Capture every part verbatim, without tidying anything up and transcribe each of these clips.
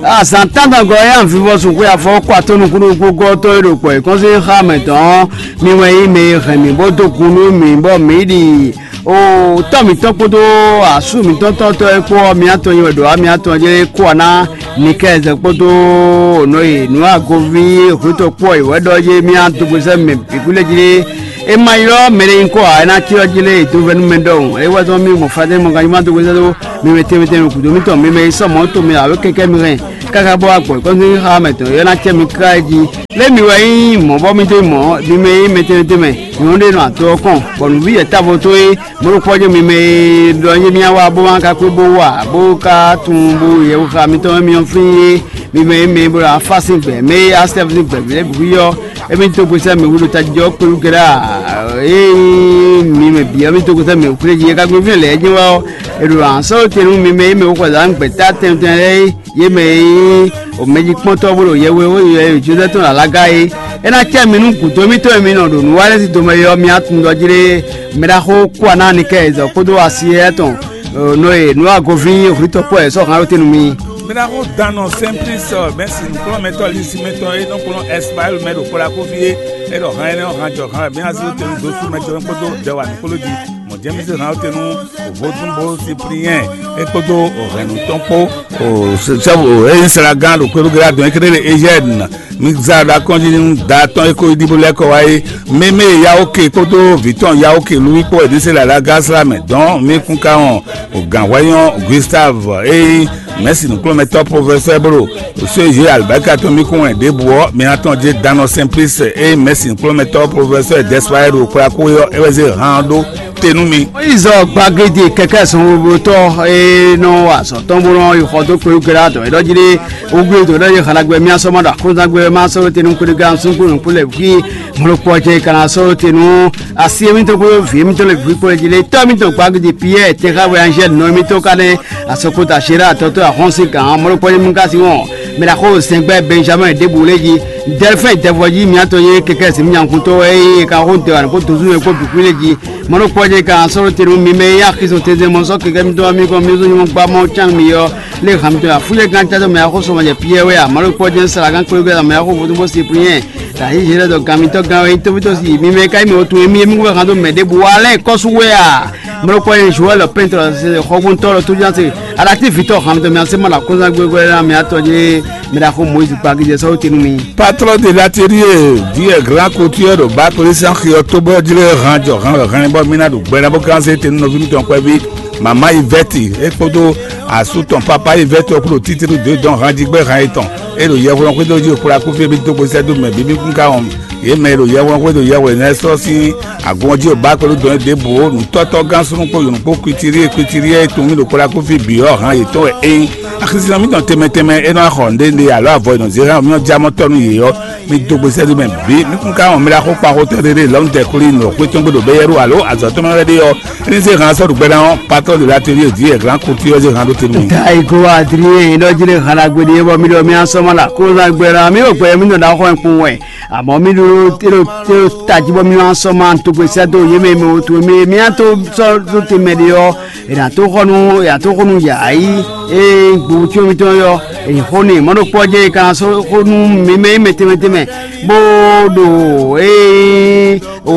Azǎn tántɔngɔ́ e anvivɔ́ sixú afɔ kɔ atɔ́ nukúnnú gɔ́ tɔn e ɖo kpɔ̌ yěkɔ́n sín xá mɛ tɔn ɔ́, mi wɛ nyí mɛ e hɛn mǐ bó dó gun nú mǐ bɔ mǐ ɖi o tɔ́ mǐtɔn kpódó asú mǐtɔn tɔ́tɔ́ e kpó ɔ́, mǐ atɔn nyi wɛ ɖo amǐ atɔn jɛ kó wa ná Nikɛzɛ kpódó nɔ e nǔ agoví hwetɔ kpó ɔ́, wɛ ɖɔ yé mǐ adógbezɛ mɛ bǐ kú lɛ́ jí lé. É ma ylɔ́ mɛ ɖé nyí kɔ ǎ, é ná cyɔ jí lé dovɛ́nú mɛ ɖɔhun. É wɛ zɔ́n mí mɔ fadɛ́ mɔ ganjí ma dó hwezɛ́ ɖó mi mɛ tɛnmɛ tɛnmɛ gǔdo mítɔn mi mɛ yi sɔ mɔ̌ to mɛ awě kɛkɛ mi hɛn káká bɔ agbɔ̌ kɔ́ntɔ́ xá mɛ tɔn é ná cɛ mi ká jí. Lé mi wɛ nyí mɔ̌ bɔ mi dó mɔ̌ mi mɛ nyí mɛ tɛnmɛ tɛnmɛ nyɔ̌nu ɖé nɔ ato ɔ́ kɔn, bɔ nǔví yɛ távo tó é mɔ̌ kpɔ́ jɛ mi mɛ e ɖɔ nyí mía wa bó ma ka kpé bó wa bó ka tunwun bó yɛ xá mitɔn mi ɔ́ fín é. Mi mɛ e mɛ bo ɖo afá sín gbɛ mɛ e asɛ́ sín gbɛ mɛ ɖěbǔ yɔ émí tó gosɛ mɛ wúɖo tají ɔ́ kpéwú kɛɖá. Ée mi mɛ bǐ ɔ́ mí tó gosɛ mɛ wúkúɖé jí é ka gbé fínɛ́ lɛ̌ jɛ́n wá ɔ́, è ɖo ansɔ́ te nú mi mɛ e mɛ wúxɔ zǎn gbɛ̌ta tɛnmɛ tɛnmɛ lɛ́ɛ é, yě mɛ e nyí mɛjíkpɔ́ntɔ́ bó ɖo yɛhwehuhu yɛ Jozɛ́f tɔn ɖo alaga é. É ná cɛ mi nú gǔdo émítɔn e mi nɔ ɖo nǔ wa lɛ́ɛ sín domɛ é ɔ́, mi atundɔ jí lé mɛ ɖaxó Kwanaani kɛ e zɔ kpódó asi éyɛ́ tɔn nɔ e nǔ agoví hwǐtɔ́ kpó wɛ è sɔ́ hǎn ɖó te nú mi. Mɛ ɖaxó Dan nɔ Sɛnplis mɛsi nǔkplɔ́nmɛtɔ́ Lisimɛtɔn e nɔ kplɔ́n Ɛsipayɛ́li mɛ ɖo Kolakoví é, é ɖɔ han énɛ́ ɔ́ han jɔ han wɛ mǐ ná zé te nú dó sú mɛ jɔ́nú kpódó jɛwa nǔkplɔ́ jí. Mɔ̌ jɛ́n mì zé han ɔ́ te nú vodúnbó Sipliyɛ́n é kpódó hɛ̌nnu tɔn kpó, sɛ́bù é nyí slagán ɖo Kweɖúgedá dɔn é kéré ɖe Ezyɛ́ɛni. Mi zá ɖo akɔ́njí nú da tɔn e ko yi ɖi bó lɛ́ kɔ wá é. Mémé Yawóke kpódó vǐ tɔn Yawóke Luwí kpó wɛ ɖésé lɛ alá Gásla mɛ dɔn mí kún ká wɔn gǎnhwɛ́nyɔ́ Gustave e nyí mɛ̌si nǔkplɔ́nmɛtɔ́ profɛsɛ́ bó ɖo só e yě alibɛ́ka tɔn mí kún wɛn ɖěbǔ ɔ́, mi ná tɔn jɛ Danɔ Sɛnplísi e nyí mɛ̌si nǔkplɔ́nmɛtɔ́ profɛsɛ́ Dɛsipayɛ́ ɖo kplá kú é ɔ́, é wɛ zé han ɔ́ ɖó te nú mi. Mɔyízi gbagédi kɛkɛ sɔnwogbotɔ́ e nɔ wa azɔ̌ tɔn bó nɔ yi xɔ dó kpeyúkɛ́ dɔ̌ é ɖɔ jí ɖé wúgbé dǒ ɖɔ yě xalagbɛ mía sɔ́ ma ɖo akɔ́nzángbé ma sɔ́ te nú kúɖigán súnkún nǔkún lɛ́ɛ bǐ mɔ̌ ɖokpó ɔ́ jɛ ka ná sɔ́ te nú asi émítɔn kpódó vǐ émítɔn lɛ́ɛ bǐ kpó jí lé tɔ́ émítɔn gbagédi Piyɛ́ɛ tɛnxáwɛ Anzɛ́li nɔ émítɔn ka nɛ́ asɔkota Sera tɔtɔ́ ahɔ́nsín gǎn mɔ̌ ɖokpó ɔ́ mú ka sí wɔn mɛ ɖaxó sɛngbɛ́ Bɛnjamɛ́ɛ ɖěbǔ lé jí Dɛlfɛ́n dɛvɔ́ jí mǐtɔn yé kɛkɛ zǐn mì nyankúntɔ́ wɛ é ka xó dɛwǎn kpó dozúnmɛ kpó bǐ kú lé jí. Mɔ̌ ɖokpó ɔ́ jɛ ka sɔ́ ɖó te nú mi mɛ e nyí axi zɔn tɛnzɛn mɔ sɔ́ kɛkɛ mitɔn ɔ́ mi kɔn mì zɔn nyɔ́mɔ gbá mɔ cán mi ɔ́, lé han mitɔn afúnjɛ gán cátɔ mɛ axó sɔmɔjɛ Piyɛ́ɛ wɛ a? Mɔ̌ ɖokpó ɔ́ jɛ Salagan kpéwú gbɛ́ mɛ axó vodún bó si Pliyɛ́n, ta yí Zédɛ́ dɔ gan mitɔ́ gán wɛ nyí tófítɔ́ si mi mɛ ka nyí mɛ wotun e mi émí wɛ han dó mɛ ɖěbǔ wa lɛ́ɛ kɔ́ sú wɛ a? Mɔ̌ ɖokpó ɔ́ jɛ Joɛ́l pɛ́ntɔ́ xɔgbóntɔ́ ɖɔ tójúnásé aɖatívǐtɔ́ han mitɔn mi asé mɔ ɖo akɔ́nzán gbégbé ná mi atɔ jɛ mɛ ɖaxó Mɔyízi kpa gíjɛ sɔ́ wó te nú mi. Patron de l'atelier, Dieu grand couture ɖo Baklesi axi ɔ́ tó bɔ jlé hán jɔ hán wɛ hán bɔ mí ná ɖo gbɛ ná bó gán zé te nú nɔví mitɔn kpɛví mama Yvette é kpódó asú tɔn papa Yvette ɔ́ kpódó títí dó dɔn hán jí gbɛ hán yětɔn é ɖo yɛhweɖɔ xwédo jí kplá kúfí bí dó gbèsè dó mɛ bí mí kún ká wɔn yě mɛ e ɖo yɛhweɖɔ xwédo yɛhweɖɔ nɛ́ sɔ́ sín agun ɔ́ jí ɖo Baklesi dɔn é ɖěbǔ ó nǔtɔ́tɔ́ gán súnnu kpó yǒnu kpó kwitiríe kwitiríe e tunwun mì ɖo kplá kúfí bǐ ɔ́ hán yětɔn wɛ é nyí. Axisínɔ mítɔn tɛnmɛ tɛnmɛ é nɔ wá xɔ nǔɖé ɖe alo avɔ e nɔ zě hɛn mì ɔ́ já mɔ tɔ́ nú yě ɔ́, mi dó gbe sɛ́ mɛ bǐ. Mi kún ka wɔn mɛ ɖaxó kpaxotɔ́ ɖé ɖé lɔ̌nu tɛ kplí nɔ xwé tɔn gbe ɖo bɛ́yɛ́ ɖó alo azɔ̌ tɔn mɛ wɛ ɖé ɔ́, é ní zé han sɔ́ ɖo gbɛ ná ɔ́, patɔ́ ɖo latelier vǐ e glán kutu ɔ́ zé han ɖó te nú mi. Daigo adrien ɖɔ jí ɖe han ɖagbe ɖé bɔ mi ɖɔ mi asɔ́ ma ɖo aklúnɔ́gbɛ ná mi ɖo gbɛ mi nɔ ɖaxó wɛ kpowun wɛ. Amɔ̌ mi ɖó tají bɔ mi wá sɔ́ ma togbe sɛ́ dó yě mɛ e mɛ wǒ towe mɛ e mi ná tó sɔ́ ɖó te mɛ ɖé ɔ́, è nǎ tó xɔ nú è nǎ tó xo nú yǎ yi e gbowu cyɔ́n mitɔn ɔ́, è xo n'i mɔ̌ ɖokpó ɔ́ jɛ è ka ná sɔ́ xo nú mi mɛ e mɛ tɛnmɛ tɛnmɛ bó ɖo ée o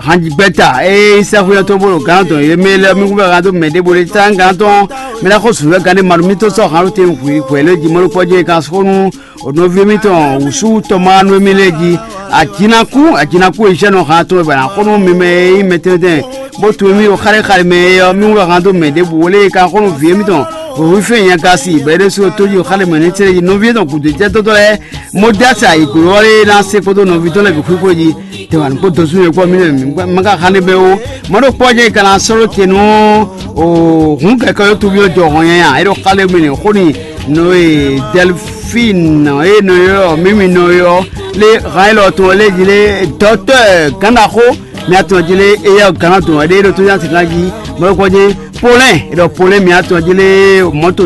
hanjigbɛ́ta e sɛ́xwé ɔ́ tó bó ɖo gǎn tɔn yě mɛ lɛ́ɛ mi kún bɛ gǎn dó mɛ ɖěbǔ ɖé tá gǎn tɔn mɛ lɛ́ɛ xó sǔnwú wɛ gǎn ɖé ma ɖo mì tó sɔ́ hǎn ɖó te hwǐ hwɛ̌ lɛ́ɛ jí mɔ̌ ɖokpó ɔ́ jɛ è ka xo nú O nɔví mitɔn wǔsú tɔn ma nú émí lɛ́ɛ jí. Ajinakú ajinakú e zɛ́ nɔ han tɔn wɛ bɔ è nǎ xo nú mi mɛ e nyí mɛtɛ́ntɛ́n, bó tunwun émí ɖo xálé xalé mɛ é ɔ́, mí wú han dó mɛ ɖěbǔ ó lé e ka xo nú vǐ émítɔn wěwúfɛ́n nyagasi bɔ é ɖésú ɖo tójí ɖo xálé mɛ ní tlé jí nɔví étɔn gǔdo jɛ́tɔ́tɔ́ lɛ́ɛ. Modɛ́si ayǐgló ɔ́ lé ná se kpódó nɔví tɔn lɛ́ɛ bǐ xwíxwé jí. Tɛwǎn kpó dɔsú yě kpɔ́ mí lɛ́ɛ mí má ka xá n'i bɛ́ ó. Mɔ̌ ɖokpó ɔ́ jɛ ka ná sɔ́ ɖó te nú hǔn kɛkɛ ɔ́ toví ɔ́ jɔ hɔn nyanya é ɖo xálé mɛ nǐ xó n'i nɔ e Dɛlfín e nɔ ylɔ́ mǐmi nɔ ylɔ́ lé han élɔ́ tɔn lé jí lé dɔ̌tɔ́ gǎnɖaxó mia tɔn jí lé éyɛ́ gǎnɔ tɔn wɛ ɖé ɖo tó nyá sǐkán jí Mɔ̌ ɖokpɔ́ jɛ́n Polɛ́n, è ɖɔ Polɛ́n mǐ atɔn jí lé mɔ̌to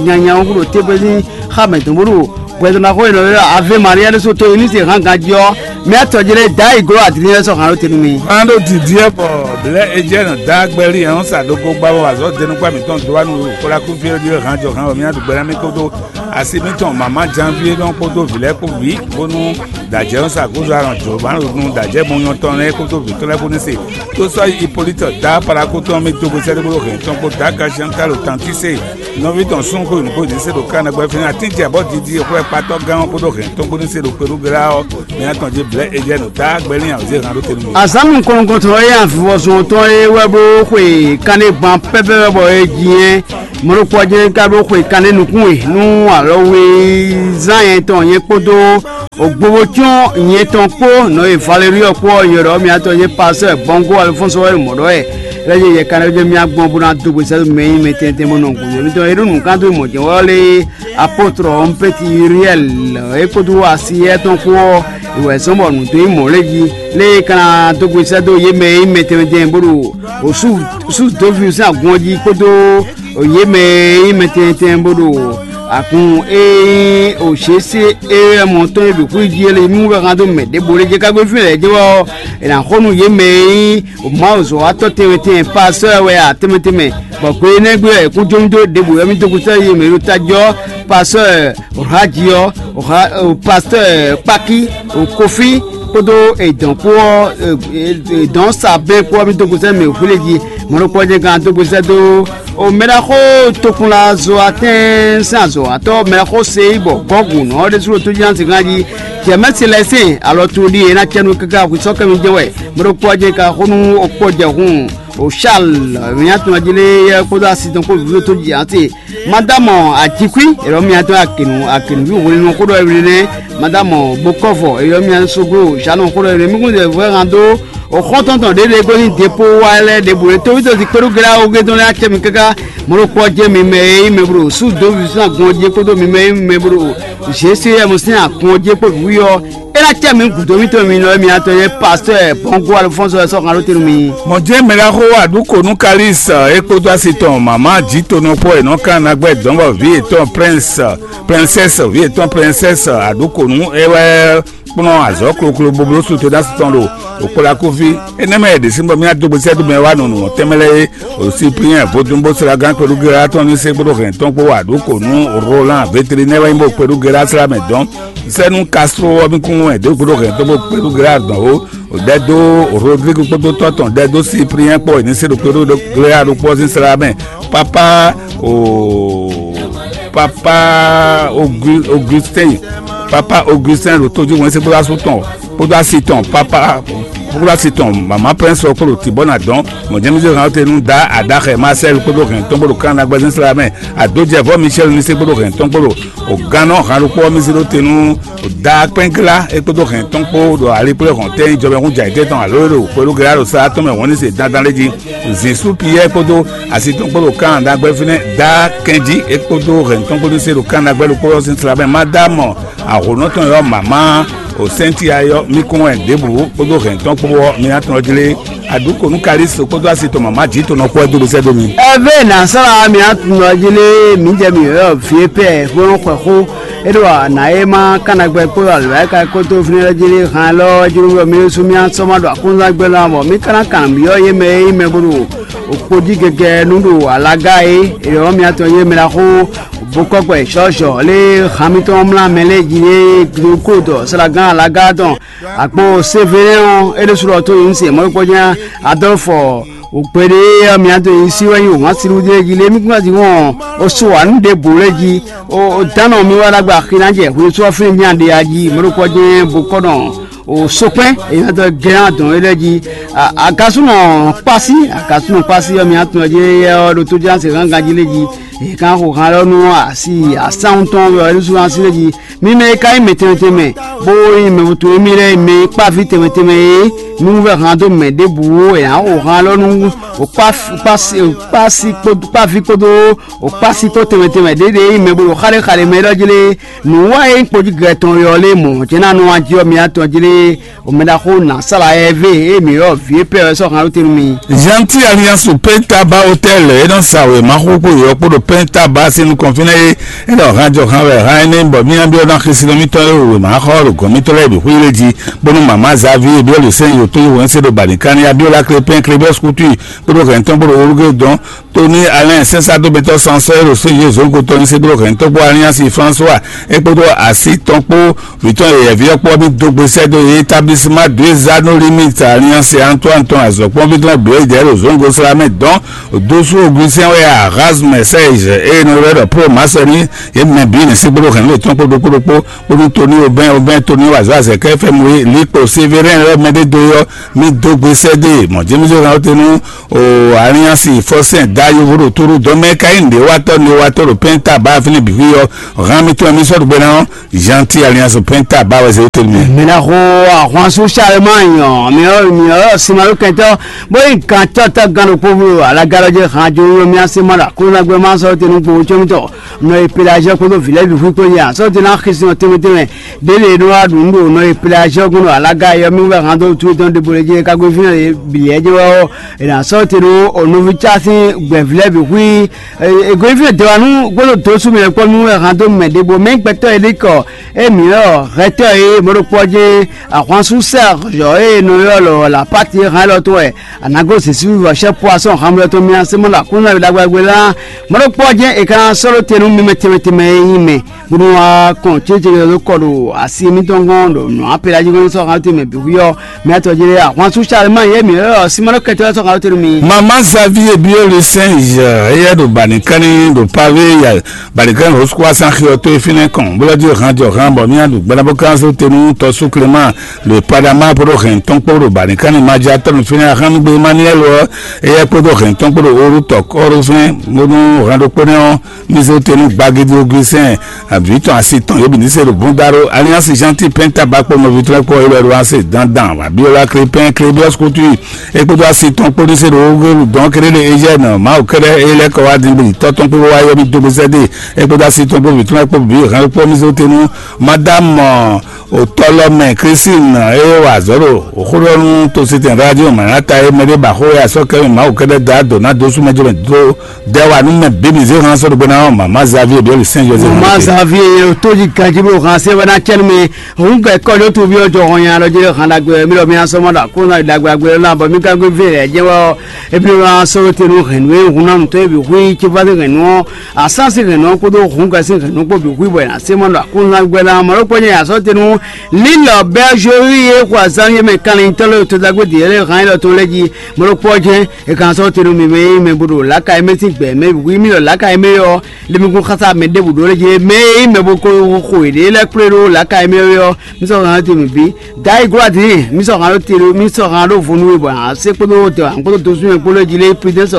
nyanya ɔ́ ɖo tégbé sín xá mɛ dɔn bó ɖo hwɛndo ná xó e nɔ ylɔ́ Ave Maria ɖésú to yi ní se hán ganjí ɔ́, mǐ atɔn jí lé dǎ yi gló adǐlín lɛ́ɛ sɔ́ hǎn ɖó te nú mì. Hán ɖó dǐndín ɔ́ bɔ blɛ̌ Ejɛ́nu dá gbɛ́lí ɛ́ ɔ́ sa dó gó gbá bɔ azɔ̌ denu kpá mǐtɔn dó wá nú xwlákúfí ɔ́ jí hán jɔ hán bɔ mǐ ná ɖu gbɛ ná mì kódó asi mǐtɔn mama Janvier nɔ kpódó vǐ lɛ́ɛ kpó bǐ, bónú dǎjɛ́ ɔ́ sa gúdo alɔn jǒ ma ɖo nu dǎjɛ́ mɔnyɔ́tɔn lɛ́ɛ kpódó vǐ tɔn lɛ́ɛ kpó ní se. Tó sɔ́ yi Hipólíti dá parakútɔn mɛ dó gbe sɛ́dó bó ɖo hɛn tɔn kpó dǎ Gasiantalo Tantíse nɔví tɔn súnnu xó nǔgbó ɖě se ɖo Kana gbɛ́ fínɛ́ atín jɛ bɔ́ didi xwlɛ́kpatɔ́ gán ɔ́ kpódó hɛn tɔn kpó ní se ɖo Perugela ɔ́, mɛ atɔn jí blɛ̌ Ejɛ́nu dá gbɛlín awězé hán ɖó te nú mì. Azǎn nukɔn nukɔntɔn e avivɔzɔn tɔn e wɛ bó xwe kanlé gban pɛ́pɛ́ wɛ bɔ è ji nyɛ mɔɖokpɔ́ jɛ́n ka ɖó xwe kanlé nukún e nú alɔwezán nyɛ tɔn nyɛ kpódó Ogbobo cyɔ́n nyɛ tɔn kpó nɔ e Valerio kpó ɔ́ nyɛ ɖɔ mǐtɔn nyɛ pasɛ Bɔngo Alfonso wɛ mɔ̌ ɖɔ wɛ lɛ́ nyɛ yɛ kanlɛ jɛ mía gbɔn bó ná dó gbe sɛ́dó mɛ nyí mɛ tɛntɛn bó nɔ gǔdo mítɔn e ɖó nǔkan dó mɔ̌ jɛ́n wɛ ɔ́ lé apotro ɔ́ pɛ́ti Uriɛl é kpódó asiyɛ tɔn kpó ɔ́ wɛ zɔ́n bɔ nǔ dó nyí mɔ̌ lɛ́ jí lé é ka ná dó gbe sɛ́dó yě mɛ e nyí mɛ tɛntɛn bó ɖo sú dó vǐ sín agun ɔ́ jí kpódó yě mɛ e nyí mɛ tɛntɛn bó ɖo agun e nyí òṣèṣe éyɛ́mɔ tɔn e ɖo xwé jí é lé mí wú wɛ hán dó mɛ ɖěbǔ lé jɛ kágbé fí lɛ́ɛ jɛ wɛ ɔ́, è nǎ xo nú yě mɛ e nyí Mawu zɔ̌watɔ́ tɛnmɛ tɛnmɛ pasɔ́ wɛ a tɛnmɛ tɛnmɛ, bɔ gbe énɛ́ gbe ɔ́, è kún jó mì dó ɖěbǔ wɛ mì dó kúsɔ yě mɛ ɖo tajɔ pasɔ́ Raji ɔ́, pasɔ́ Kpaki, Kofi kpódó èdɔn kpó ɔ́, èdɔn sa bɛ́ kpó ɔ́, mì dó kúsɔ mɛ hwlé jí mɔ̌ ɖokpó jɛ gán dó kúsɔ dó O mɛɖaxó tokun la zo atɛ́n sín azɔ̌watɔ́ mɛɖaxó Seyi bɔ Gɔ́gu nɔ ɔ́ ɖésú ɖo tójínásíngán jí. Jɛ̌mɛ́si lɛ́ɛ sín alɔ tun ɖíe é ná cɛ nú káká hwi sɔ́ kɛ́ mì jɛ́n wɛ. Mɛ ɖokpó ɔ́ jɛ ka xó nú okpɔ́jɛhún o Charles mǐ atɔn jí lé yɛ kpódó asi tɔn kpó vǐvó tó jí ǎ se. Madámɔ Ajíkwí, è ɖɔ mì atɔn Akenu, Akenu ví hwenu xó ɖɔ éɖée nɛ́. Madámɔ Bokɔ́vɔ, è ɖɔ mì atɔn Soglo, Ʒanɔ xó ɖɔ éɖée mì kún zɛ vɔ́ hàn dó O xɔ́ntɔn tɔn ɖěɖě gosín depo wá lɛ́ɛ ɖěbǔ e tóví tɔn sin kpéɖú glá ogé tɔn lɛ́ɛ acɛ mi káká mɔ̌ ɖokpó ɔ́ jɛ́n mi mɛ e nyí mɛ blo sú dǒ vǐ sín agun ɔ́ jí kpódó mi mɛ e nyí mɛ blo Zeseyɛ́mu sín agun ɔ́ jí kpó nǔwiwa ɔ́, é ná cɛ mi gǔdo mítɔn mi nɔ e mi atɔn nyɛ pastɔ́ Bɔngo Alifɔ́nsɔ wɛ sɔ́ han ɖó te nú mi. Mɔ̌ jɛ́n mɛ ɖaxó Aɖǔkonu Kalísi é kpódó asi tɔn mama jǐ tonɔ kpó è nɔ kan ná gbɛ́ dɔ̌n bɔ vǐ yětɔn Prɛnsɛ Prɛnsɛ́si vǐ yětɔn Prɛnsɛ́si Aɖǔkonu é wɛ kplɔ́n azɔ̌ kloklo bó bló su Tenási tɔn ɖo òkplakúví. Énɛ́ mɛ e ɖě sín bɔ mì ná dó gbe sɛ́ dó mɛ wá nɔ nǔ wɔn tɛnmɛ lɛ́ɛ é, ɖo Sipliyɛ́n vodúnbóslágán kpɛɖúglá tɔn ní sɛ́ kpódó hɛn tɔn kpó wa ɖǒ kǒ nú Rolán Veterinɛ́ɛ wɛ nyí bó kpɛɖúglá slá mɛ dɔn. Sɛ́ nú Kasló ɔ́ mì kún wɛn dó kpódó hɛn tɔn bó kpɛɖúglá dɔn ó. Ɖɛ dó Rodrigue kpódó tɔ́ tɔn ɖɛ dó Sipliyɛ́n kpó è ní sɛ́ ɖo kpɛɖúglá ɖokpó ɔ́ sín slá mɛ. Pápá o Papa Augustin, Papa Augustin ɖo tójú wɛn sí kpódó asú tɔn kpódó asi tɔn papa kpódó asi tɔn mama Prince ɔ́ kpódó tibɔ na dɔn mɔjɛmísí hàn te nú da adaxɛ Marcel kpódó hɛn tɔn kpódó kan na gbɛzín sra mɛ adójɛ vɔ Michel ní sí kpódó hɛn tɔn kpódó ògannɔ hàn ɖokpó ɔ́ mí sí ɖó te nú da kpɛngla é kpódó hɛn tɔn kpó ɖo ali kplé hɔn tɛn jɔmɛ hún jɛ ayǐtétɔn alo e ɖo kpódó gɛlá ɖo sá tɔn mɛ wɔn ní se dandan lé jí. Zǐn sú Piyɛ́ɛ kpódó asi tɔn kpó ɖo Kanada gbɛ́ fínɛ́ dá kɛnjí é kpódó hɛn tɔn kpódó sé ɖo Kanada gbɛ́ ɖokpó ɔ́ sín slabɛ́ ma dó amɔ ahǒnɔ tɔn yɔ́ mama o sɛ́nti ayɔ́ mí kún wɛ ɖěbǔ kpódó hɛn tɔn kpó ɔ́ mi ná tɔn jlé aɖǔ kò nú Kalísto kpódó asi tɔn mama jǐ tɔn nɔ kpɔ́ dó sɛ́ dó mi. Ɛvɛ nǎ sɔ́ mǐ atúnɔ jí lé mǐ jɛ mǐ ɔ́ vǐ e pɛ bó nɔ́ xwɛ xó é ɖo nǎ e ma Kanada gbɛ́ kpódó alɔ̌yaka kpódó fínɛ́ lɛ́ɛ jí lé han lɔ́ jí nú mí sú mí asɔ́ ma ɖo akúnzán gbɛ́ lɔ́ mɔ mí ka ná kan nǔ byɔ́ yé mɛ e nyí mɛ bó ɖo òkpo jí gɛgɛ nú ɖo alaga é, è ɖɔ mì atɔn yé mɛ ɖaxó bokɔ́gbɛ sɔ́zɔ lé han mitɔn mlá mɛ lɛ́ɛ jí é glokó dɔ slagán alaga tɔn akpo Sevelɛ́n ɔ́, é ɖésú ɖɔ tó nyí se mɔ̌ kpɔ́ nya Adɔlfɔ ògbɛɖe ɔ́ mì atɔn yí sí wɛ nyí wǎn sílú ɖé jí lé mí kún ná jí wɔn o so wǎ nú ɖěbǔ lɛ́ɛ jí o dánɔ mi wá ɖagbe axi ná jɛ hwenu sɔ́ fínɛ́ nya ɖe ají mɔ̌ ɖokpɔ́ jɛ́n bokɔ́nɔ o sokpɛ́n èyí ná dɔ gɛ́n adɔn é lɛ́ɛ jí. Agasúnɔ kpásí agasúnɔ kpásí ɔ́ mi atɔn jí éyɛ́ ɔ́ ɖo tó ján se gángan jí lé jí. È ka xo han lɔ nú asi asánwú tɔn wɛ ɔ́ ɖésú ná sí lé jí. Mi mɛ e ka nyí mɛ tɛnmɛ tɛnmɛ, bó nyí mɛ vutu émí lɛ́ɛ mɛ e kpá vǐ tɛnmɛ tɛnmɛ é, nú vɛ́ han dó mɛ ɖěbǔ ó, è nǎ xo han lɔ nú kpási kpási kpási kpódó kpávi kpódó kpási kpó tɛnmɛ tɛnmɛ ɖěɖě e nyí mɛ bo ɖo xá ɖé xa ɖé mɛ é ɖɔ jí lé. Nǔ wa e nyí kpojí gɛ́ tɔn ɔ́ lé mɔ̌ jɛ́n ná nɔ wá jí ɔ́ mi atɔn jí lé. Omɛɖaxó nǎ sala ɛvɛ e mǐ ylɔ́ vǐ e pɛ wɛ sɔ́ han ɖó te nú mi. Gentil Alliance Penta ba Hôtel e nɔ sa wěma xó kpó yɔ kpó ɖo Penta ba sín nukɔn fínɛ́ é. É ɖɔ han jɔ han wɛ han énɛ́ bɔ mía byɔ́ ná xísí nú mítɔn e wěma xɔ ɖo gɔ̌n mítɔn lɛ́ɛ bǐ xwí lé jí, bónú mama Xavi e byɔ́ lě sɛ́n yǒ tó yí wɛn sé ɖo bǎlíkáni Abíọ́lá Klépɛ́n Klébɛ́s Kútúì kpódó hɛ̌ntɔn kpódó Olúgédɔn Tony Alain sɛnsádómɛtɔ́ sansɔ́ e ɖo Sejezonko tɔn nyi sɛ́dó hɛ̌ntɔ́gbó Alliance François é kpódó así tɔn kpó vǐ tɔn yɛ̌yɛ́ví ɔ́ kpó ɔ́ bǐ dó gbe sɛ́ dó établissement deux anneaux limite Alliance Antoine tɔn azɔ̌kpɔ́nví tɔn ɖǒ é ɖo Zongo Slamɛ dɔn dósú Augustin wɛ Erasme Serge eye nɔ ylɔ́ ɖɔ Pro Masɔni yě mɛ bǐ nyi sɛ́ kpódó hɛ̌nnu yětɔn kpó ɖokpó ɖokpó kpódó Tony Aubin Aubin Tony wazɔ́ azɛ̌kɛ́ fɛ́ mú é Likpo Sévérin lɛ́ɛ mɛ ɖé dó ylɔ́ mì dó gbe sɛ́ dó e mɔ̌ jɛ́n mì zé hɛn ɔ́ te nú o Alliance Fɔsɛn da yovo ɖo tóɖó dɔn mɛ ka nyí nǔɖéwatɔ́ nǔɖéwatɔ́ ɖo Pɛnta ba fínɛ́ bǐ xwí ɔ́, hán mì tɔn mì sɔ́ ɖo gbe ná ɔ́, Gentil Alliance Pɛnta ba wɛ zé tɛ́ mɛ. Mǐ ná xo ahwan sú Charlemagne ɔ́, mǐ ɔ́ mǐ ɔ́ simaɖókɛntɔ́ bó nyí gantɔ́tɔ́ gán ɖokpó alagalɔ jɛ han jó yó mì así mɔ ɖo Aklúnɔgbé ma sɔ́ te nú gbowó có mì tɔn nɔ e Pelazíɔ kpódó vǐ lɛ́ɛ bǐ xwí kpó yi ǎ, sɔ́ te ná xísin ɔ́ tɛnmɛ tɛnmɛ. Ɖěɖě nɔ wá ɖu nǔ ɖo nɔ e Pelazíɔ gɔ́n ɖo alaga yɔ́míwú wɛ han dó wútu tɔn ɖěbǔ lě jí e ka gbe fínɛ́ lě bǐ lɛ́ɛ jɛ wɛ ɔ́, è nǎ sɔ́ te ɖó nɔví cá sín gbɛ̌ví lɛ́ɛ bǐ xwí. È gɔ́ fínɛ́ dɔ̌ wá nú gbɔdɔ dó sú mì wɛ kpɔ́ nú wɛ han dó mɛ ɖěbǔ mɛ gbɛtɔ́ e ɖi kɔ émí ɔ́ hɛtɔ́ e mɔ̌ ɖokpó ɔ́ jɛ́n ahwansú Sɛ́ɛzɔ e nɔ ylɔ́ lɔ Lapáti e hán élɔ́ tɔn wɛ a nǎ gosín sín vivɔ sɛ́ poisɔ́n hanmlɔ tɔn mì a sɛ́ mɔ ɖo Aklúnɔ wi ɖagbe ɖagbe lá. Mɔ̌ ɖokpó ɔ́ jɛ́n è ka ná sɔ́ ɖó te nú mi mɛ tɛnmɛ tɛnmɛ e nyí mɛ, bónú wá kɔn cécéɖɔ dó kɔ ɖo asi mitɔn gɔ́n ɖo nǔ apelají gɔ́n sɔ́ han tɛnmɛ bǐ xwí ɔ́, mɛ tɔn jí lé ahwan sú Salemayi e mǐ ylɔ́ Simanɔ kɛntɔ́ lɛ́ɛ sɔ́ han ɖó te nú mi. Mama Xavier Biolus Saint Jean éyɛ́ ɖo bǎnìkánní ɖo Pavé ya bǎnìkánní Rosquois sín axi ɔ́ tó e fínɛ́ kɔn, bó lɔ́ jí han jɔ han bɔ mì nyi ɖu gbɛ́nabókánzó te nú tɔ́sú Clément ɖo Padama kpódó hɛn tɔn kpó ɖo bǎnìkánní Maja tɔn fínɛ́ ahánnugbé Emmanuel ɔ́, éyɛ́ kpódó hɛn tɔn kpó ɖo Orútɔ kɔ́ɖófɛ́n bónú hɛn ɖokpónɔ ɔ́, mì zé te nú gbagidi Augustin, vǐ tɔn asi tɔn yě bǐ ní se ɖo búndáɖó Alliance Gentil Pɛnta ba kpó nɔví tɔn lɛ́ɛ kpó élɔ́ ɖo ase dandan Abiola Crépin Crébius Couture é kpódó asi tɔn kpó ní se ɖo Ogelu dɔn kéɖé ɖe Eugène Mawu kɛ́ɖɛ́ é lɛ́ kɔ wá din bó yi tɔ́ tɔn kpó wá yɔ mì dó bó sɛ́ dé é kpódó asi tɔn kpó vǐ tɔn lɛ́ɛ kpó bǐ hɛn kpó mì zé te nú Madame Otɔlɔmɛ Christine e wa azɔ̌ ɖo xó ɖɔ nú tositɛn radio Manata e mɛ ɖé ba xó e asɔ́ kɛ́ mì Mawu kɛ́ɖɛ́ da dǒ ná dó sú mɛ jɛ́ mɛ dó dɛ wa nú mɛ bǐ mì zé han sɔ́ ɖo gbe ná ɔ́, mama Xavier ɖě li Saint Joseph. Mama Xavier ye tó jí ganjí bó han sɛ́ wɛ ná cɛ́ nú mi. Hǔn gɛ̌ kɔ́ ɖó toví ɔ́ jɔ hɔn nya lɔ jí han ɖagbe mì lɔ mi asɔ́ mɔ ɖo akóná ɖagbe agbe lɔ ná bɔ mì ka gbé vɛ lɛ jɛ wɛ ɔ́. Ebi wɛ asɔ́ te nú hɛ̌nnu e hun ná nutɔ́ e bǐ hu yi cífá sín hɛ̌nnu ɔ́, asán sín hɛ̌nnu ɔ́ kpódó hǔn gɛ́ sín hɛ̌nnu kpó bǐ hu yi bɔ è nǎ sé mɔ ɖo akóná gbɛ ná mɔ ɖó kpɔ́ nyɛ asɔ́ te nú Lílɔ Bɛ́zhórí e xo azán yé mɛ kanlin tɔ́ lɛ́ɛ ɖo todagbe dǐ lɛ́ɛ hán élɔ́ tɔn lɛ́ɛ jí mɔ ɖó kpɔ́ jɛ́n. È ka sɔ́ te nú mi mɛ e mɛ bo ɖo lǎka e mɛ sín gbɛ̌ mɛ wǔ mì ɖɔ lǎka e mɛ ɔ́, le mi kún xása mɛ ɖěbǔ ɖó lɛ́ jí mɛ e mɛ bo ko xo yěɖée lɛ́ɛ kplé ɖó lǎka e mɛ ɔ́, mi sɔ́ hán te mì bǐ. Dayi gló adǐ mi sɔ́ hán ɖó te mi sɔ́ hán ɖó vo nú we bɔ a sé kpódó dɛ wǎn kpódó dozún mɛ kpó lɛ́ jí lé Prudence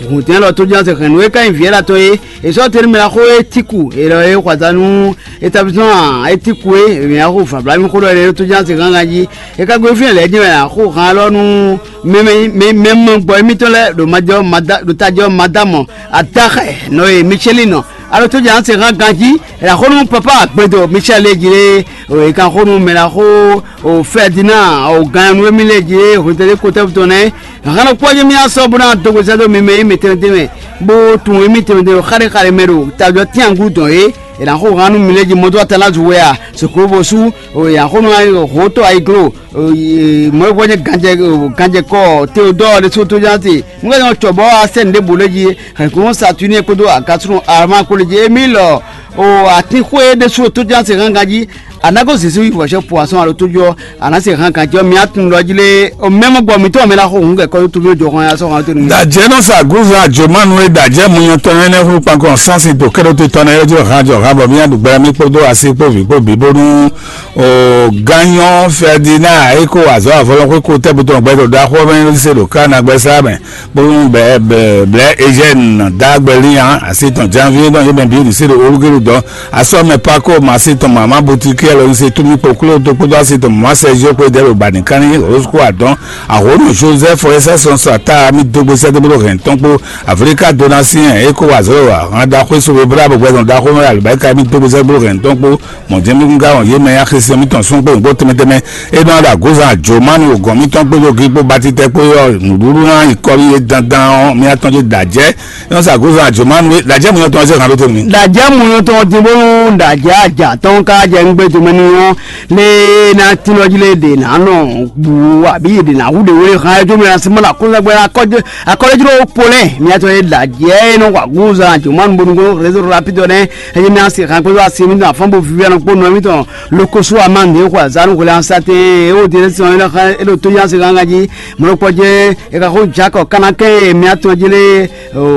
hǔn dɛ́n lɔ tó jɛ́n se hɛn nǔ e ka nyí vǐ ɛ́ ɖo atɔn é. È sɔ́ te nú mɛ ná xó é tíku è lɔ é xɔ azǎn nú établissement é tíku é mɛ ná xó vabla mi xó ɖɔ é tó jɛ́n se hán ganjí. É ka gbe fínɛ́ lɛ̌ jɛ́n mɛ ná xó hán lɔ nú mɛ mɛ mɛ mɛ gbɔ émítɔn lɛ́ɛ ɖo majɔ mada ɖo tajɔ madamɔ adaxɛ nɔ e Michelin nɔ alo tó jɛ anse hã ganjí. Ɛlɛ xó nú papa agbedo Michel lé jí lé o e kan xó nú mɛ la xó o Ferdinand o gan nu émi lé jí lé hwetɛlé kotɛ́ tɔn nɛ hàn kpɔ́ jɛ mi asɔ bó ná dogbe sɛ́ dó mi mɛ émi tɛnmɛ tɛnmɛ bó tun émi tɛnmɛ tɛnmɛ xáɖé xáɖé mɛ ɖo tajɔ tínyaŋgú dɔn é. È nǎ xo hán nú mi lé jí mɔdó atalazu wɛ a soklo bó sú o yǎ xó nú hǒtɔ ayiglo mɔ̌ e hwɛ nyí ganjɛ ganjɛ kɔ Teodɔɔ ɖésú tó ján te. Nú é nɔ cɔbɔ asɛn ɖěbǔ lɛ́ɛ jí hɛ̌nkunnu Saturnie kpódó Agasunu Arma kpó lɛ́ɛ jí émí lɔ O atinxwé ɖésú ɖo tójánse hángan jí, a nǎ gosín sín wǐvɔ́ sɛ́ poisson alo tójú ɔ́, a nǎ se hángan jí ɔ́, mi á tunwun ɖɔ jí lé, o mɛmɔ gbɔ mǐtɔn mɛ ná xo hǔn kɛ kɔ́ tójú jɔ hɔn ya sɔ́ hɔn tónú. Dajɛ nɔ sa gúzan àjòmánu e dajɛ munyɔtɔn ɛnɛ hu kpankɔ sánsi to kɛɖo te tɔn ɛ jɔ hàn jɔ hàn bɔ mía ɖu gbɛrɛ mi kpódó asi kpó vǐ kpó bǐ bónú o gányɔ Ferdinand e ko azɔ avɔlɔn xwé ko tɛ́ butɔn gbɛdɔ ɖaxó mɛ se ɖo ká na gbɛsá mɛ. Bónú bɛ̌ bɛ̌ blɛ̌ Ezyɛ́ni dá gbɛ lín ǎ, asi tɔn Janvier ɖɔ yě mɛ bǐ ɖi sí ɖo olúgélu dɔn. Asɔ́ mɛ Pako mɔ asi tɔn mama Butikɛ́ lɔ se túmí kpokpló dó kpódó asi tɔn mama Sɛ́zio kpó dɛ́ ɖo bǎnìkánní Rosco adɔn. Ahǒnú Joseph ɛ sɛ́ sɔn sɔ ata mì dó gbé sɛ́ dó bló hɛn tɔn kpó Aflika Donatien e ko wa zɔ̌ wa hàn ɖaxó e so we blá bɔ gbɛzɔn ɖaxó mɛ alibáyíká mì dó gbé sɛ́ bló hɛn tɔn kpó. Mɔ̌ jɛ́n mí gúngá wɔn yé mɛ ya xesin mítɔn sún kpó nǔgbó tɛnmɛ tɛnmɛ. É nɔ ɖo agozan Jomanu gɔn mítɔn kpó yogí kpó batitɛ kpó yɔ nǔɖuɖu ná yi kɔ́ yé dandan ɔ́, mí atɔn jɛ dǎjɛ. É nɔ sa agozan Jomanu é dǎjɛ mú yɔn tɔn ɔ́ sɛ́ hàn ɖó tɛnmɛ. Dǎjɛ mú yɔn tɔn dín bónú dǎjɛ ajǎ tɔn ká jɛ ngbé jomɛ ní ɔ́ lé ná tínɔ jí lé ɖe ná nɔ bu abǐ ɖe ná wú ɖe wé hàn ɛ jó mɛ ná sí mɔ ná kó sɛgbɛ ná kɔjɛ akɔlɔjló polɛ mí atɔn yé dǎjɛ é nɔ wa agozan Jomanu bónú réseau rapide nɛ. Eye mi asi hàn kpéɖo asi mi tɔn afɔn bo vivi anɔ kpó nɔ mi tɔn lokoso ama nde xɔ azanu xɔlɛ ansate ewo de sɔn ena xa elo to yansi ganga ji mɔlɔkpɔ jɛ eka xo jakɔ kana kɛ mi atɔn ji le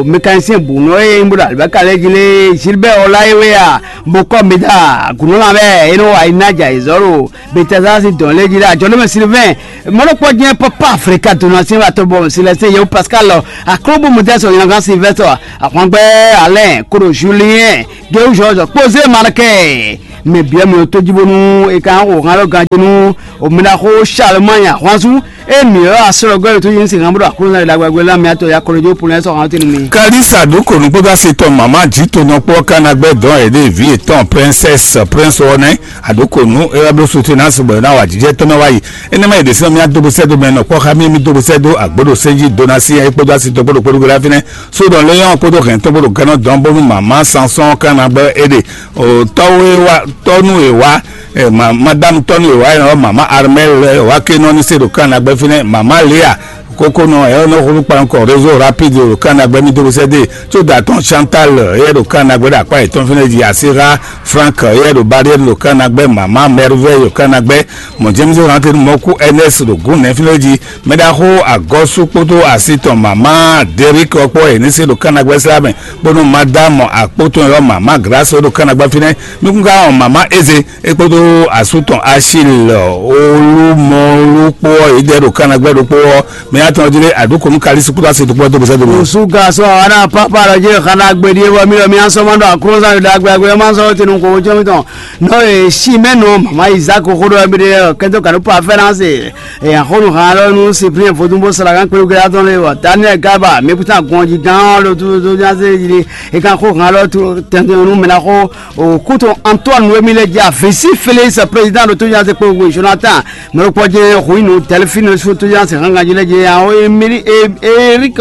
mécanicien bu nɔ eye mi bo do alibaka lɛ ji le Gilbert Ɔlayewe a bo kɔ mi da gunɔ la bɛ eno wa ina ja izɔro Betazasi dɔn lé ji le ajɔ lé mɛ Sylvain mɔlɔkpɔ jɛ papa Afrika dona si wa tɔ bɔ Célestin yewu Pascal akrobo mutɛ sɔ ina kan Sylvester Ahwangbɛ Alain koɖo Julien Géwu George kpozé Markɛ mɛ biɛ mɛ tó jí bónú e ka xo hàn lɔ ganjí nú o mɛ ɖaxó Charlemagne Ahwansu e mǐ ɔ́ asɔ́lɔgɔ́ e tó yí sí hàn bóɖo Aklúnɔ ɖagbe la mɛ atɔ ya kɔlɔjó polɛ sɔ hàn tɛnu mi. Kalisa ɖó kò nukpó bá se tɔn màmá jǐ tonɔ kpó kánagbɛ́ dɔn ɛ ɖe vǐ yětɔn princesse prince ɔ́ nɛ́. Aɖǒkonu é wá bló soutenance bɔ è nǎ wa jijɛ tɔn mɛ wá yi. Énɛ́ mɛ è ɖě sɛ́n mì adóbosɛ́dó mɛ nɔ kpɔ́ xá mì mì dóbosɛ́dó agbǒɖo sɛ́n jí dó ná sí ɛ é kpódó así tɔn kpódó kpódó gbéra fínɛ́. Sódɔ léyɔn kpódó hɛn tɔn kpódó gɛnɔ dɔn bónú màmá Sanson kánna bɔ é ɖe o tɔ́wé wá tɔ́nú è wá ɛ ma madame tɔ́nú è wá ɛ ɔ màmá Armel ɛ wá ké nɔ ní se ɖo kánna gbɛ fínɛ́ màmá Léa kókónɔ ɛ ɔ nɔ xlú kpankɔ réseau rapide ɖo kánna gbɛ mì dóbosɛ́dó tso dà tɔn Chantal ɛ ɖo kánna gbɛ ɖo akpá yětɔn fínɛ́ jí así xá Frank ɛ ɖo barrière ɖo kánna gbɛ màmá Merveille ɖo kánna gbɛ mɔ James Rankin mɔkú Ernest ɖo gún nɛfínɛ́ jí mɛ ɖaxó agɔ́sú kpódó así tɔn mama Derrick ɔkpɔ yě ní se ɖo kánnagbɛ́ sla mɛ bónú madame akpótɔn ɔ́ mama Grâce ɖo kánnagbɛ́ fínɛ́ nukúnká ɔn mama Eze é kpódó asú tɔn Achille olúmɔlú kpó ɔ́ yě dɛ ɖo kánnagbɛ́ ɖokpó ɔ́ mɛ atɔn jí lé aɖǔkúnú Kalisi kpódó así tɔn kpódó bó sɛ́ dó mi. Osu gasɔ ana papa lɔ jɛ xana gbedi bɔ mi lɔ mi asɔ ma ɖo akroza ɖo dagbe agbe ma sɔ tenu ko jɔ mi tɔn nɔ e si mɛ nɔ mama Isaac xo ɖo ɛbi de kɛntɔ kanu pa fɛnanse e axɔnu hã lɔ nu Cyprien vodun bó sara kan kpéɖo gɛlɛ atɔn lé wɔ Daniel Gaba mekuta gɔnji gán lɔ tu to nyaze yi e kan xo hã lɔ tu tɛntɛn nu mɛ na xo o kutu Antoine Wemile dza visi Félix président de to nyaze kpéɖo Jonathan mɛ kpɔ jɛ hu inu Delphine su to nyaze hanga ji lɛ jɛ awo Emili Eric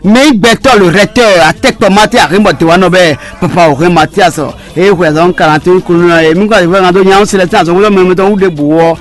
mɛ gbɛtɔ le recteur atɛkpɔ mate ahimbɔ te wa nɔ bɛ papa o hɛn Mathias eye xwe azɔn karante kunu na ye mi kɔ azɔn fɛn kan to nya si lɛ tɛn azɔn wolo mɛ mɛ tɔn wu de bu wɔ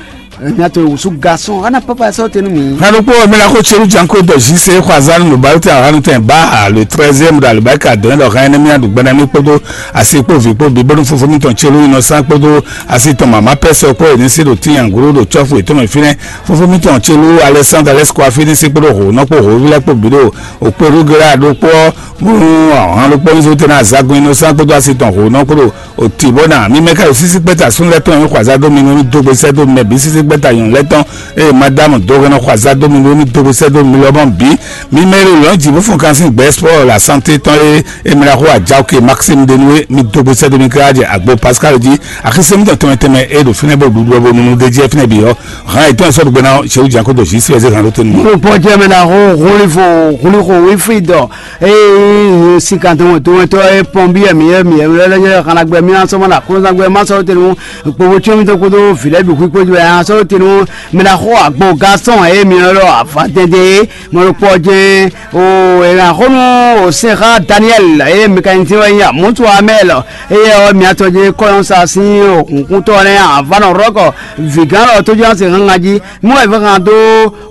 nya to wusu garçon ana papa sɔ tenu mi. Hanu kpɔ mɛ la ko tseru janko dɔ zi se xɔ azan nu balu tɛ hanu tɛ ba le treizième da le ba ka dɔn dɔ hɛn ne mi adu gbɛna mi kpodo asi kpo vi kpo bi bonu fofo mi tɔn tseru inɔ san kpodo asi tɔn mama pɛsɛ kpo eni si do ti yanguru do tsɔfu etɔn mi finɛ fofo mi tɔn tseru Alexandre Alexis kpo afi ni si kpodo ho nɔ kpo ho vi lɛ kpo bi do okpo rugera do kpɔ Bónú àwọn alukpɔ́nzó tɛ́ ná azágún inú sán kpódó asi tɔn hǒnɔ kpódó òtí bó ná mímɛ́ ká ɖo sísí kpɛ́ta súnnu lɛ́ɛ tɔn e xɔ azá dó mi nú mì dó gbe sɛ́ dó mɛ bǐ sísí kpɛ́ta nyɔ̌nu lɛ́ɛ tɔn eye Madámu dó hɛn nɔ xɔ azá dó mi nú mì dó gbe sɛ́ dó mi lɔmɔ̌ bǐ. Mímɛ́ ɖo lɔ̌n jǐ bó fɔ́n kan sín gbɛ̌ spɔ́ la santé tɔn e e mɛ ɖaxó Ajaoke Maxime Denoué mi dó gbe sɛ́ dó mi káká jɛ agbo Pascal jí axisɛ́ mítɔn tɛnmɛ tɛnmɛ e ɖo fínɛ́ bó ɖuɖu ɔ́ bó nunu d'é jí ɛ fínɛ́ bǐ ɔ́ hǎn yětɔn e sɔ́ ɖo gbe ná ɔ́, Jewu jǎn kó dó Jisú ɛ zé hǎn ɖó tɛn nú mì. Nukpɔ́ jɛ mɛ ɖaxó Xulifo Xulixo Wífrídɔ Eye sikan tɔn tɔn tɔn e pɔn bi mi mi lɛ xana gbɛ mi asɔ ma la kɔnsa gbɛ ma sɔ tenu kpobo tso mi to kodo vi lɛ bi kpikpo jɔ ya sɔ Tenu mɛ ɖaxó agbo gasɔn e mi nɔ ɖɔ avadɛndɛn é, mɔ ɖokpɔ jɛ́n o. È nǎ xó nú o sɛn xá Daniɛl e mɛkanisɛn wɛ nyí Amutu Amɛl, eye ɔ́ mia tɔn jɛ́n kɔ́yɔ́nsa sín o kúnkúntɔ́ nɛ́ Avanɔ Rɔ́kɔ vǐgán lɔ tó jɛ́n se hángan jí. Mú wɛ vɛ́ hán dó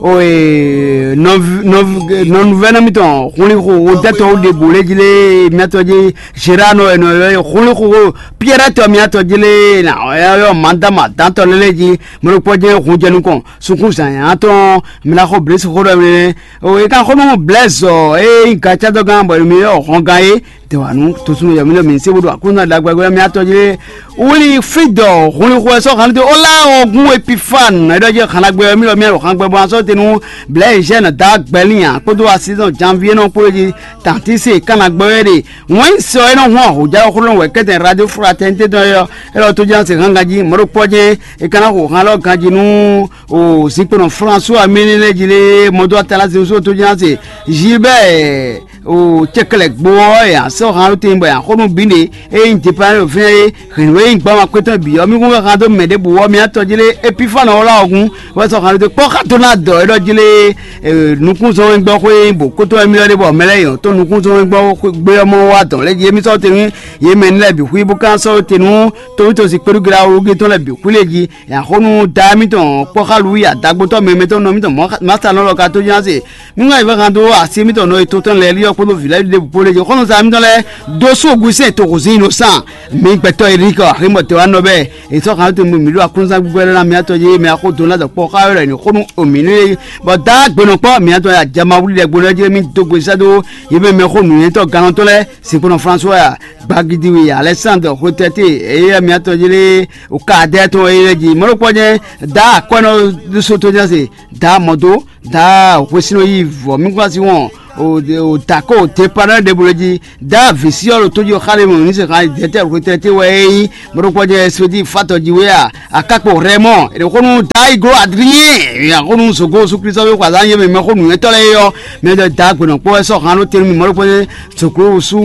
o e nɔvi- nɔvi- nɔnuvɛ́nɔ mitɔn hunlixo wodɛ́tɔ́ ɖěbǔ lé jí lé mia tɔn jí Zerano e nɔ ylɔ́ hunlixo Piɛ́rɛ́ tɔ mia tɔn jí lé na ɔ́ mǎdama dantɔ lélé jí. Mɔɖokpɔ́ jɛ́n hun jɛ nukɔn sunkún zǎnyá tɔn mla xɔ blěsi xó ɖɔ mɛ. O e kan xó nú Blɛ́zɔ e nyí gacádɔgán bɔ mi yɔ hɔngán é. Dɛwanu tosunu yɔ mi ɖɔ mi se bó ɖo akúnna ɖagbe mi atɔ jí lé. Wuli fídɔ hunlixo ɛ sɔ́ hannú dó ó lá ɔgún Epifan e ɖɔ jɛ hannagbe mi ɖɔ mi ɖo hanngbɛ bɔ asɔ te nú Blɛ́zɛn da gbɛlin kpódó asizɔn janvier nɔ kpó jí tantise kannagbɛ wɛ ɖe. Wɛn sɔ e nɔ hɔn ahɔjá xlɔ́ wɛ kɛtɛn radio fraternité tɔn yɔ. Elɔ tó ján se hán ganjí mɔɖokpɔ́ jɛ́n e ka ná xo hán lɔ ganjí nú o zinkpɔnɔ François Mélélé jí lé mɔdó atala zézó tó ján se Gilbert o cɛkɛlɛ gbó ɔ́ ya sɔ hán ló tɛn bɔ ya xó nú bǐ ɖe e nyí dépá ɖo fínɛ́ é hɛ̌nnu e nyí gbɔmɔ akpétɔn bǐ ɔ́ mí kún wɛ hán dó mɛ ɖěbǔ ɔ́ mí atɔ jí lé Epifane ɔ́ lá ɔ́ gún wɛ sɔ hán ló tɛn kpɔ́ xá dó ná dɔ é ɖɔ jí lé nukúnzɔ́n e gbɔ xó e nyí bǒ kótó wɛ mí lɔ ɖé bɔ mɛ lɛ́ɛ yɔn tó nukúnzɔ́n e gbɔ gbé ɔ́ mɔ wá dɔn lɛ́ jí émí sɔ́ tɛn nú yě mɛ lɛ́ɛ bǐ xwí bó ka sɔ́ te nú tóvítósi kpéɖúgla wúgé tɔn lɛ́ɛ bǐ xwí lé jí. Yě axɔ́ nú da émítɔn kpɔ́ xá Luwíi adagbotɔ́ mɛmɛtɔ́ nɔ émítɔn Masa nɔ lɔ ka tó nya se mí ŋá yi vɛ́ han dó así émítɔn nɔ e to tɔn lɛ́ɛ lí ɔ́ kpódó vǐ lɛ́ɛ ɖěbǔ kpó lé jí xɔ́nɔza émítɔn lɛ́ɛ dó sú ogun sín toxo zín yi nɔ sán. Mi gbɛtɔ́ Erik aximɔ te wá nɔ bɛɛ è sɔ́ han tó mǐ ɖo akúnzán gbígbɛ́ lɛ́ɛ ná mǐ atɔ jí mɛ axó dó ná dɔ kpɔ́ xá wɛ ɖɔ ní xó nú omǐ nú é. Bɔ da gbenɔ kpɔ́ mǐ atɔ ya jama wlí ɖɛ gbo lɛ́ɛ jí mí dó gbe sɛ́ dó yě mɛ mɛxó nǔnywɛ́tɔ́ gannɔtɔ́ lɛ́ɛ Sinkplɔ́n François, Gbagidiwi Alɛsándɔ Xwetɛ́te, éyɛ́ mǐ atɔn jí lé Kadɛ́ɛ tɔn é lɛ́ jí. Mɔ̌ ɖokpɔ́ jɛ́n Daa Akwɛ́nɔ ɖésú tó jɛ́n se, Daa Mɔ̌dó, Daa Hwesínɔ yí vɔ̌ mí kún así wɔn, o Dako Tepanɔ ɖěbǔ lɛ́ jí, Daa Vǐsyɔ́ ɖo tó jí xá ɖé mɔ ní se xá Dɛ̌tɛ́ Xwetɛ́te wɛ é nyí. Mɔ̌ ɖokpɔ́ jɛ́n Espedi Fatɔ jí wé a, Akákpo Rɛmɔ, è nɔ xó nú Dayigló Adriyɛn, è nɔ xó nú Zogo Sú Klísɔ́ xwazán yé mɛ mɛxó nǔnywɛ́tɔ́ lɛ́ɛ é ɔ́, mɛ ɖɔ Daa gbenɔ kpɔ́ wɛ sɔ́ han ɖó te nú mì mɔ̌ ɖokpɔ́ jɛ́n Soklosu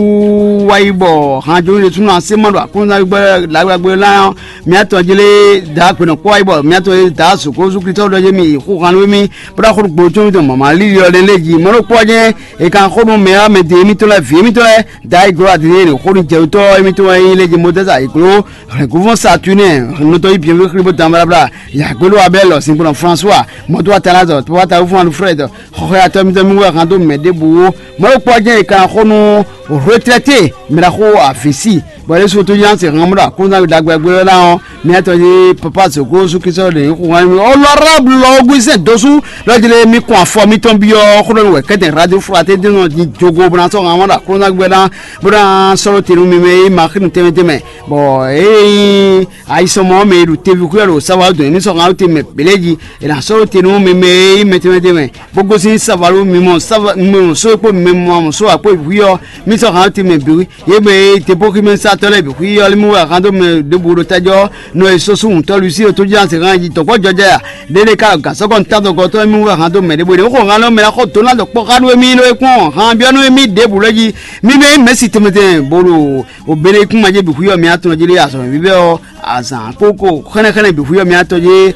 wá yi bɔ hanjó ɖésúnɔ así ma ɖo aklúnɔzángbe lǎgbágbé lá ɔ́, mía tɔn jí lé Daa gbenɔ kpɔ́ wá yi bɔ mía tɔn jí Daa Soklosu Klísɔ́ ɖɔ jɛ́n mì yi xú han nú émí, bó ná xó nú gbolo tɔn mì dɔn mama líli ɔ́ ɖe lé jí. Mɔ̌ ɖokpɔ́ jɛ́n è kan xó nú mɛ ɔ́ mɛ de émítɔn lɛ́ɛ vǐ émítɔn lɛ́ɛ Daa yi glɔ́ adǐ n'i xó nú jɛwutɔ́ émítɔn wɛ nyí lé jí Mozɛ́si ayǐgló hɛ̌nglɔ́nvɔ́n Satunɛ nɔtɔ́ yí byɔ̌ví xlí bó dan blabla. Yǎgbélú Abɛ́lɔ sinkplɔ́n François mɔdó atalázɔ tɔwáta wúfún Alfred xɔxɔyatɔ́ mitɔn mí wɛ hán dó mɛ ɖěbǔ ó. Mɔ̌ ɖokpó ɔ́ jɛ́n è ka xó nú retraité mɛ ɖaxó avǐsi bɔ ɖésú tó nyí se hɔn ɖo akúnzán ɖagbe ɔ́ ná ɔ́, mía tɔn yí papa zǒgó súkísɔ ɖe nyí xu hán mì honorable Augustin Dossou lɔ jlé mí kún afɔ mítɔn byɔ́ xó ɖɔ nú wɛ kɛ́tɛn radio fraternité nɔ nyi jogo bó ná sɔ́ hɔn ɖo akúnzán gbɛ ná bó ná sɔ́ ɖó te nú mi mɛ é ma xí nu tɛnmɛ tɛnmɛ. Bɔ ée nyí ayisɔmɔ mɛ e ɖo teví xwé ɔ́ ɖo Savalu dɔn émí sɔ́ hán ɖó te mɛ bělé jí è nǎ sɔ́ ɖó te nú mi mɛ e nyí mɛ tɛnmɛ tɛnmɛ bó gosín Savalu mi mɔ Sava mi mɔ só e kpó mi mɔ mɔ só akpó e hwí ɔ́ mí sɔ́ hán ɖó te mɛ bǐ. Yě mɛ e Debɔximɛsatɔ́ lɛ́ɛ bǐ xwí ɔ́ lí mú wɛ hán dó mɛ ɖěbǔ ɖo tájɔ nɔ e sɔ́ sú hǔntɔ́ Lusi ɖo tójúzán se hán jí dɔ̌kpɔ́ jɔjɛ a ɖéɖé ka ɖo gǎsɔ́gɔ́ ntadɔgɔtɔ́ mì wɛ hán dó mɛ ɖěbǔ ɖě xɔ hán lɔ mɛ ná xɔ dó ná dɔ̌kpɔ́ xá nú émí ɖó é kpɔ́n hán byɔ́ nú émí ɖěbǔ lɛ́ɛ jí. Mí mɛ mɛ̌si tɛnmɛ tɛnmɛ bó ɖo Obélékún ma jí bǐ xwí ɔ́ mǐ atɔn jí lé azɔ̌ vívɛ́ ɔ́, azǎn kpókó xɛ́nɛ́xɛ́nɛ́ bǐ xwí ɔ́ mǐ atɔn jí.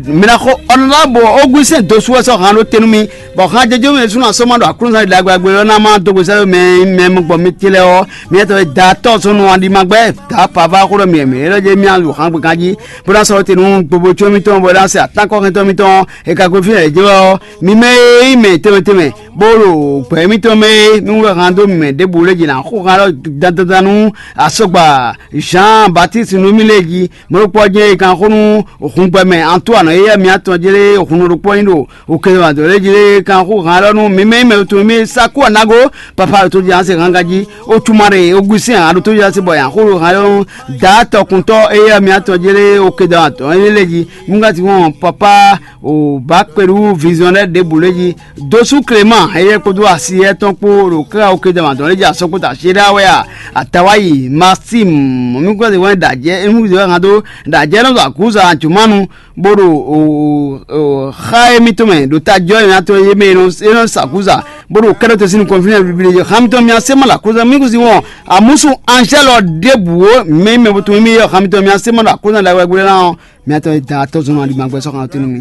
Mǐ ná xɔ ɔnɔlábɔ Ógúsɛn dosú wɛ sɔ́ han ɖó te nú mì, bɔ han jɛjɛ mɛ sú ná sɔ́ má ɖo Aklúnɔzán ɖagbe ɔ́ ná má dó gbe sɛ́ mɛ mɛ gbɔ mì ce lɛ́ɛ ɔ́, mǐ atɔn e da tɔ́ sɔ́ nɔ aɖi ma gbɛ́ da pava xó ɖɔ mǐ mǐ é ɖɔ jɛ mì alu han gbe ganjí, bó ná sɔ́ te nú gbogbo có mítɔn bɔ é ná se atánkɔ́xɛntɔ́ mítɔn e ka gbe fínɛ́ jɛ wɛ ɔ́, mi mɛ e nyí mɛ tɛnmɛ tɛnmɛ bó ɖo gbɛ̌ mitɔn mɛ é, mí wɛ han dó mɛ ɖěbǔ lɛ́ɛ jí ná xo han ɖɔ dandan nú asɔgba Jean Baptiste nú mì lɛ́ɛ jí. Mɔ̌ ɖokpó ɔ́ jɛ́n è kan xó nú hǔngbɛ́mɛ Antoine éyɛ́ mǐ atɔn jlé hun ɖokpó nyí ɖo òkè wǎn dó lɛ́ɛ jí lé kan xó han ɖɔ nú mi mɛ nyí mɛ tɔn mì Saku Anago papa ɖo tó jí ase hanga jí Otumare Augustin aɖo tó jí ase bɔ yǎ xó ɖo han ɖɔ nú Daa tɔkuntɔ́ éyɛ́ mǐ atɔn jlé òkè dɔn atɔn é lɛ́ɛ jí. Mí ka ti wɔn papa o ba kpeɖu vision lɛ́ɛ ɖěbǔ lɛ́ɛ jí. Dosú Clément éyɛ́ kpódó asi étɔn kpó ɖo káká okéde mǎdɔn lɛ́ɛ jí asɔkpóta Séɖa wɛ a, Atawayi Maxime mí kpɛ́ wɛn ɖajɛ mí wɛ hán dó ɖajɛ nɔ ɖo akúza Jumanu bó ɖo xa émítɔn mɛ ɖo tajɔ émítɔn yé mɛ é nɔ sa akúza kpódó kɛ́ɖɔ́ tɔn sín nukɔn fínɛ́ bibli yě xá mitɔn mì asé mɔ ɖo aklúzán mì kúzin wɔn. Amúsú anzɛ́lɔ ɖěbǔ mɛ nyí mɛ bo tunwun émí yě xá mitɔn mì asé mɔ ɖo aklúzán ɖagbe ɖagbe ná ɔ́, mì atɔn e da atɔ́zɔ́n aligbangbe sɔ́ xan ɔ́ tɛ́nú mì.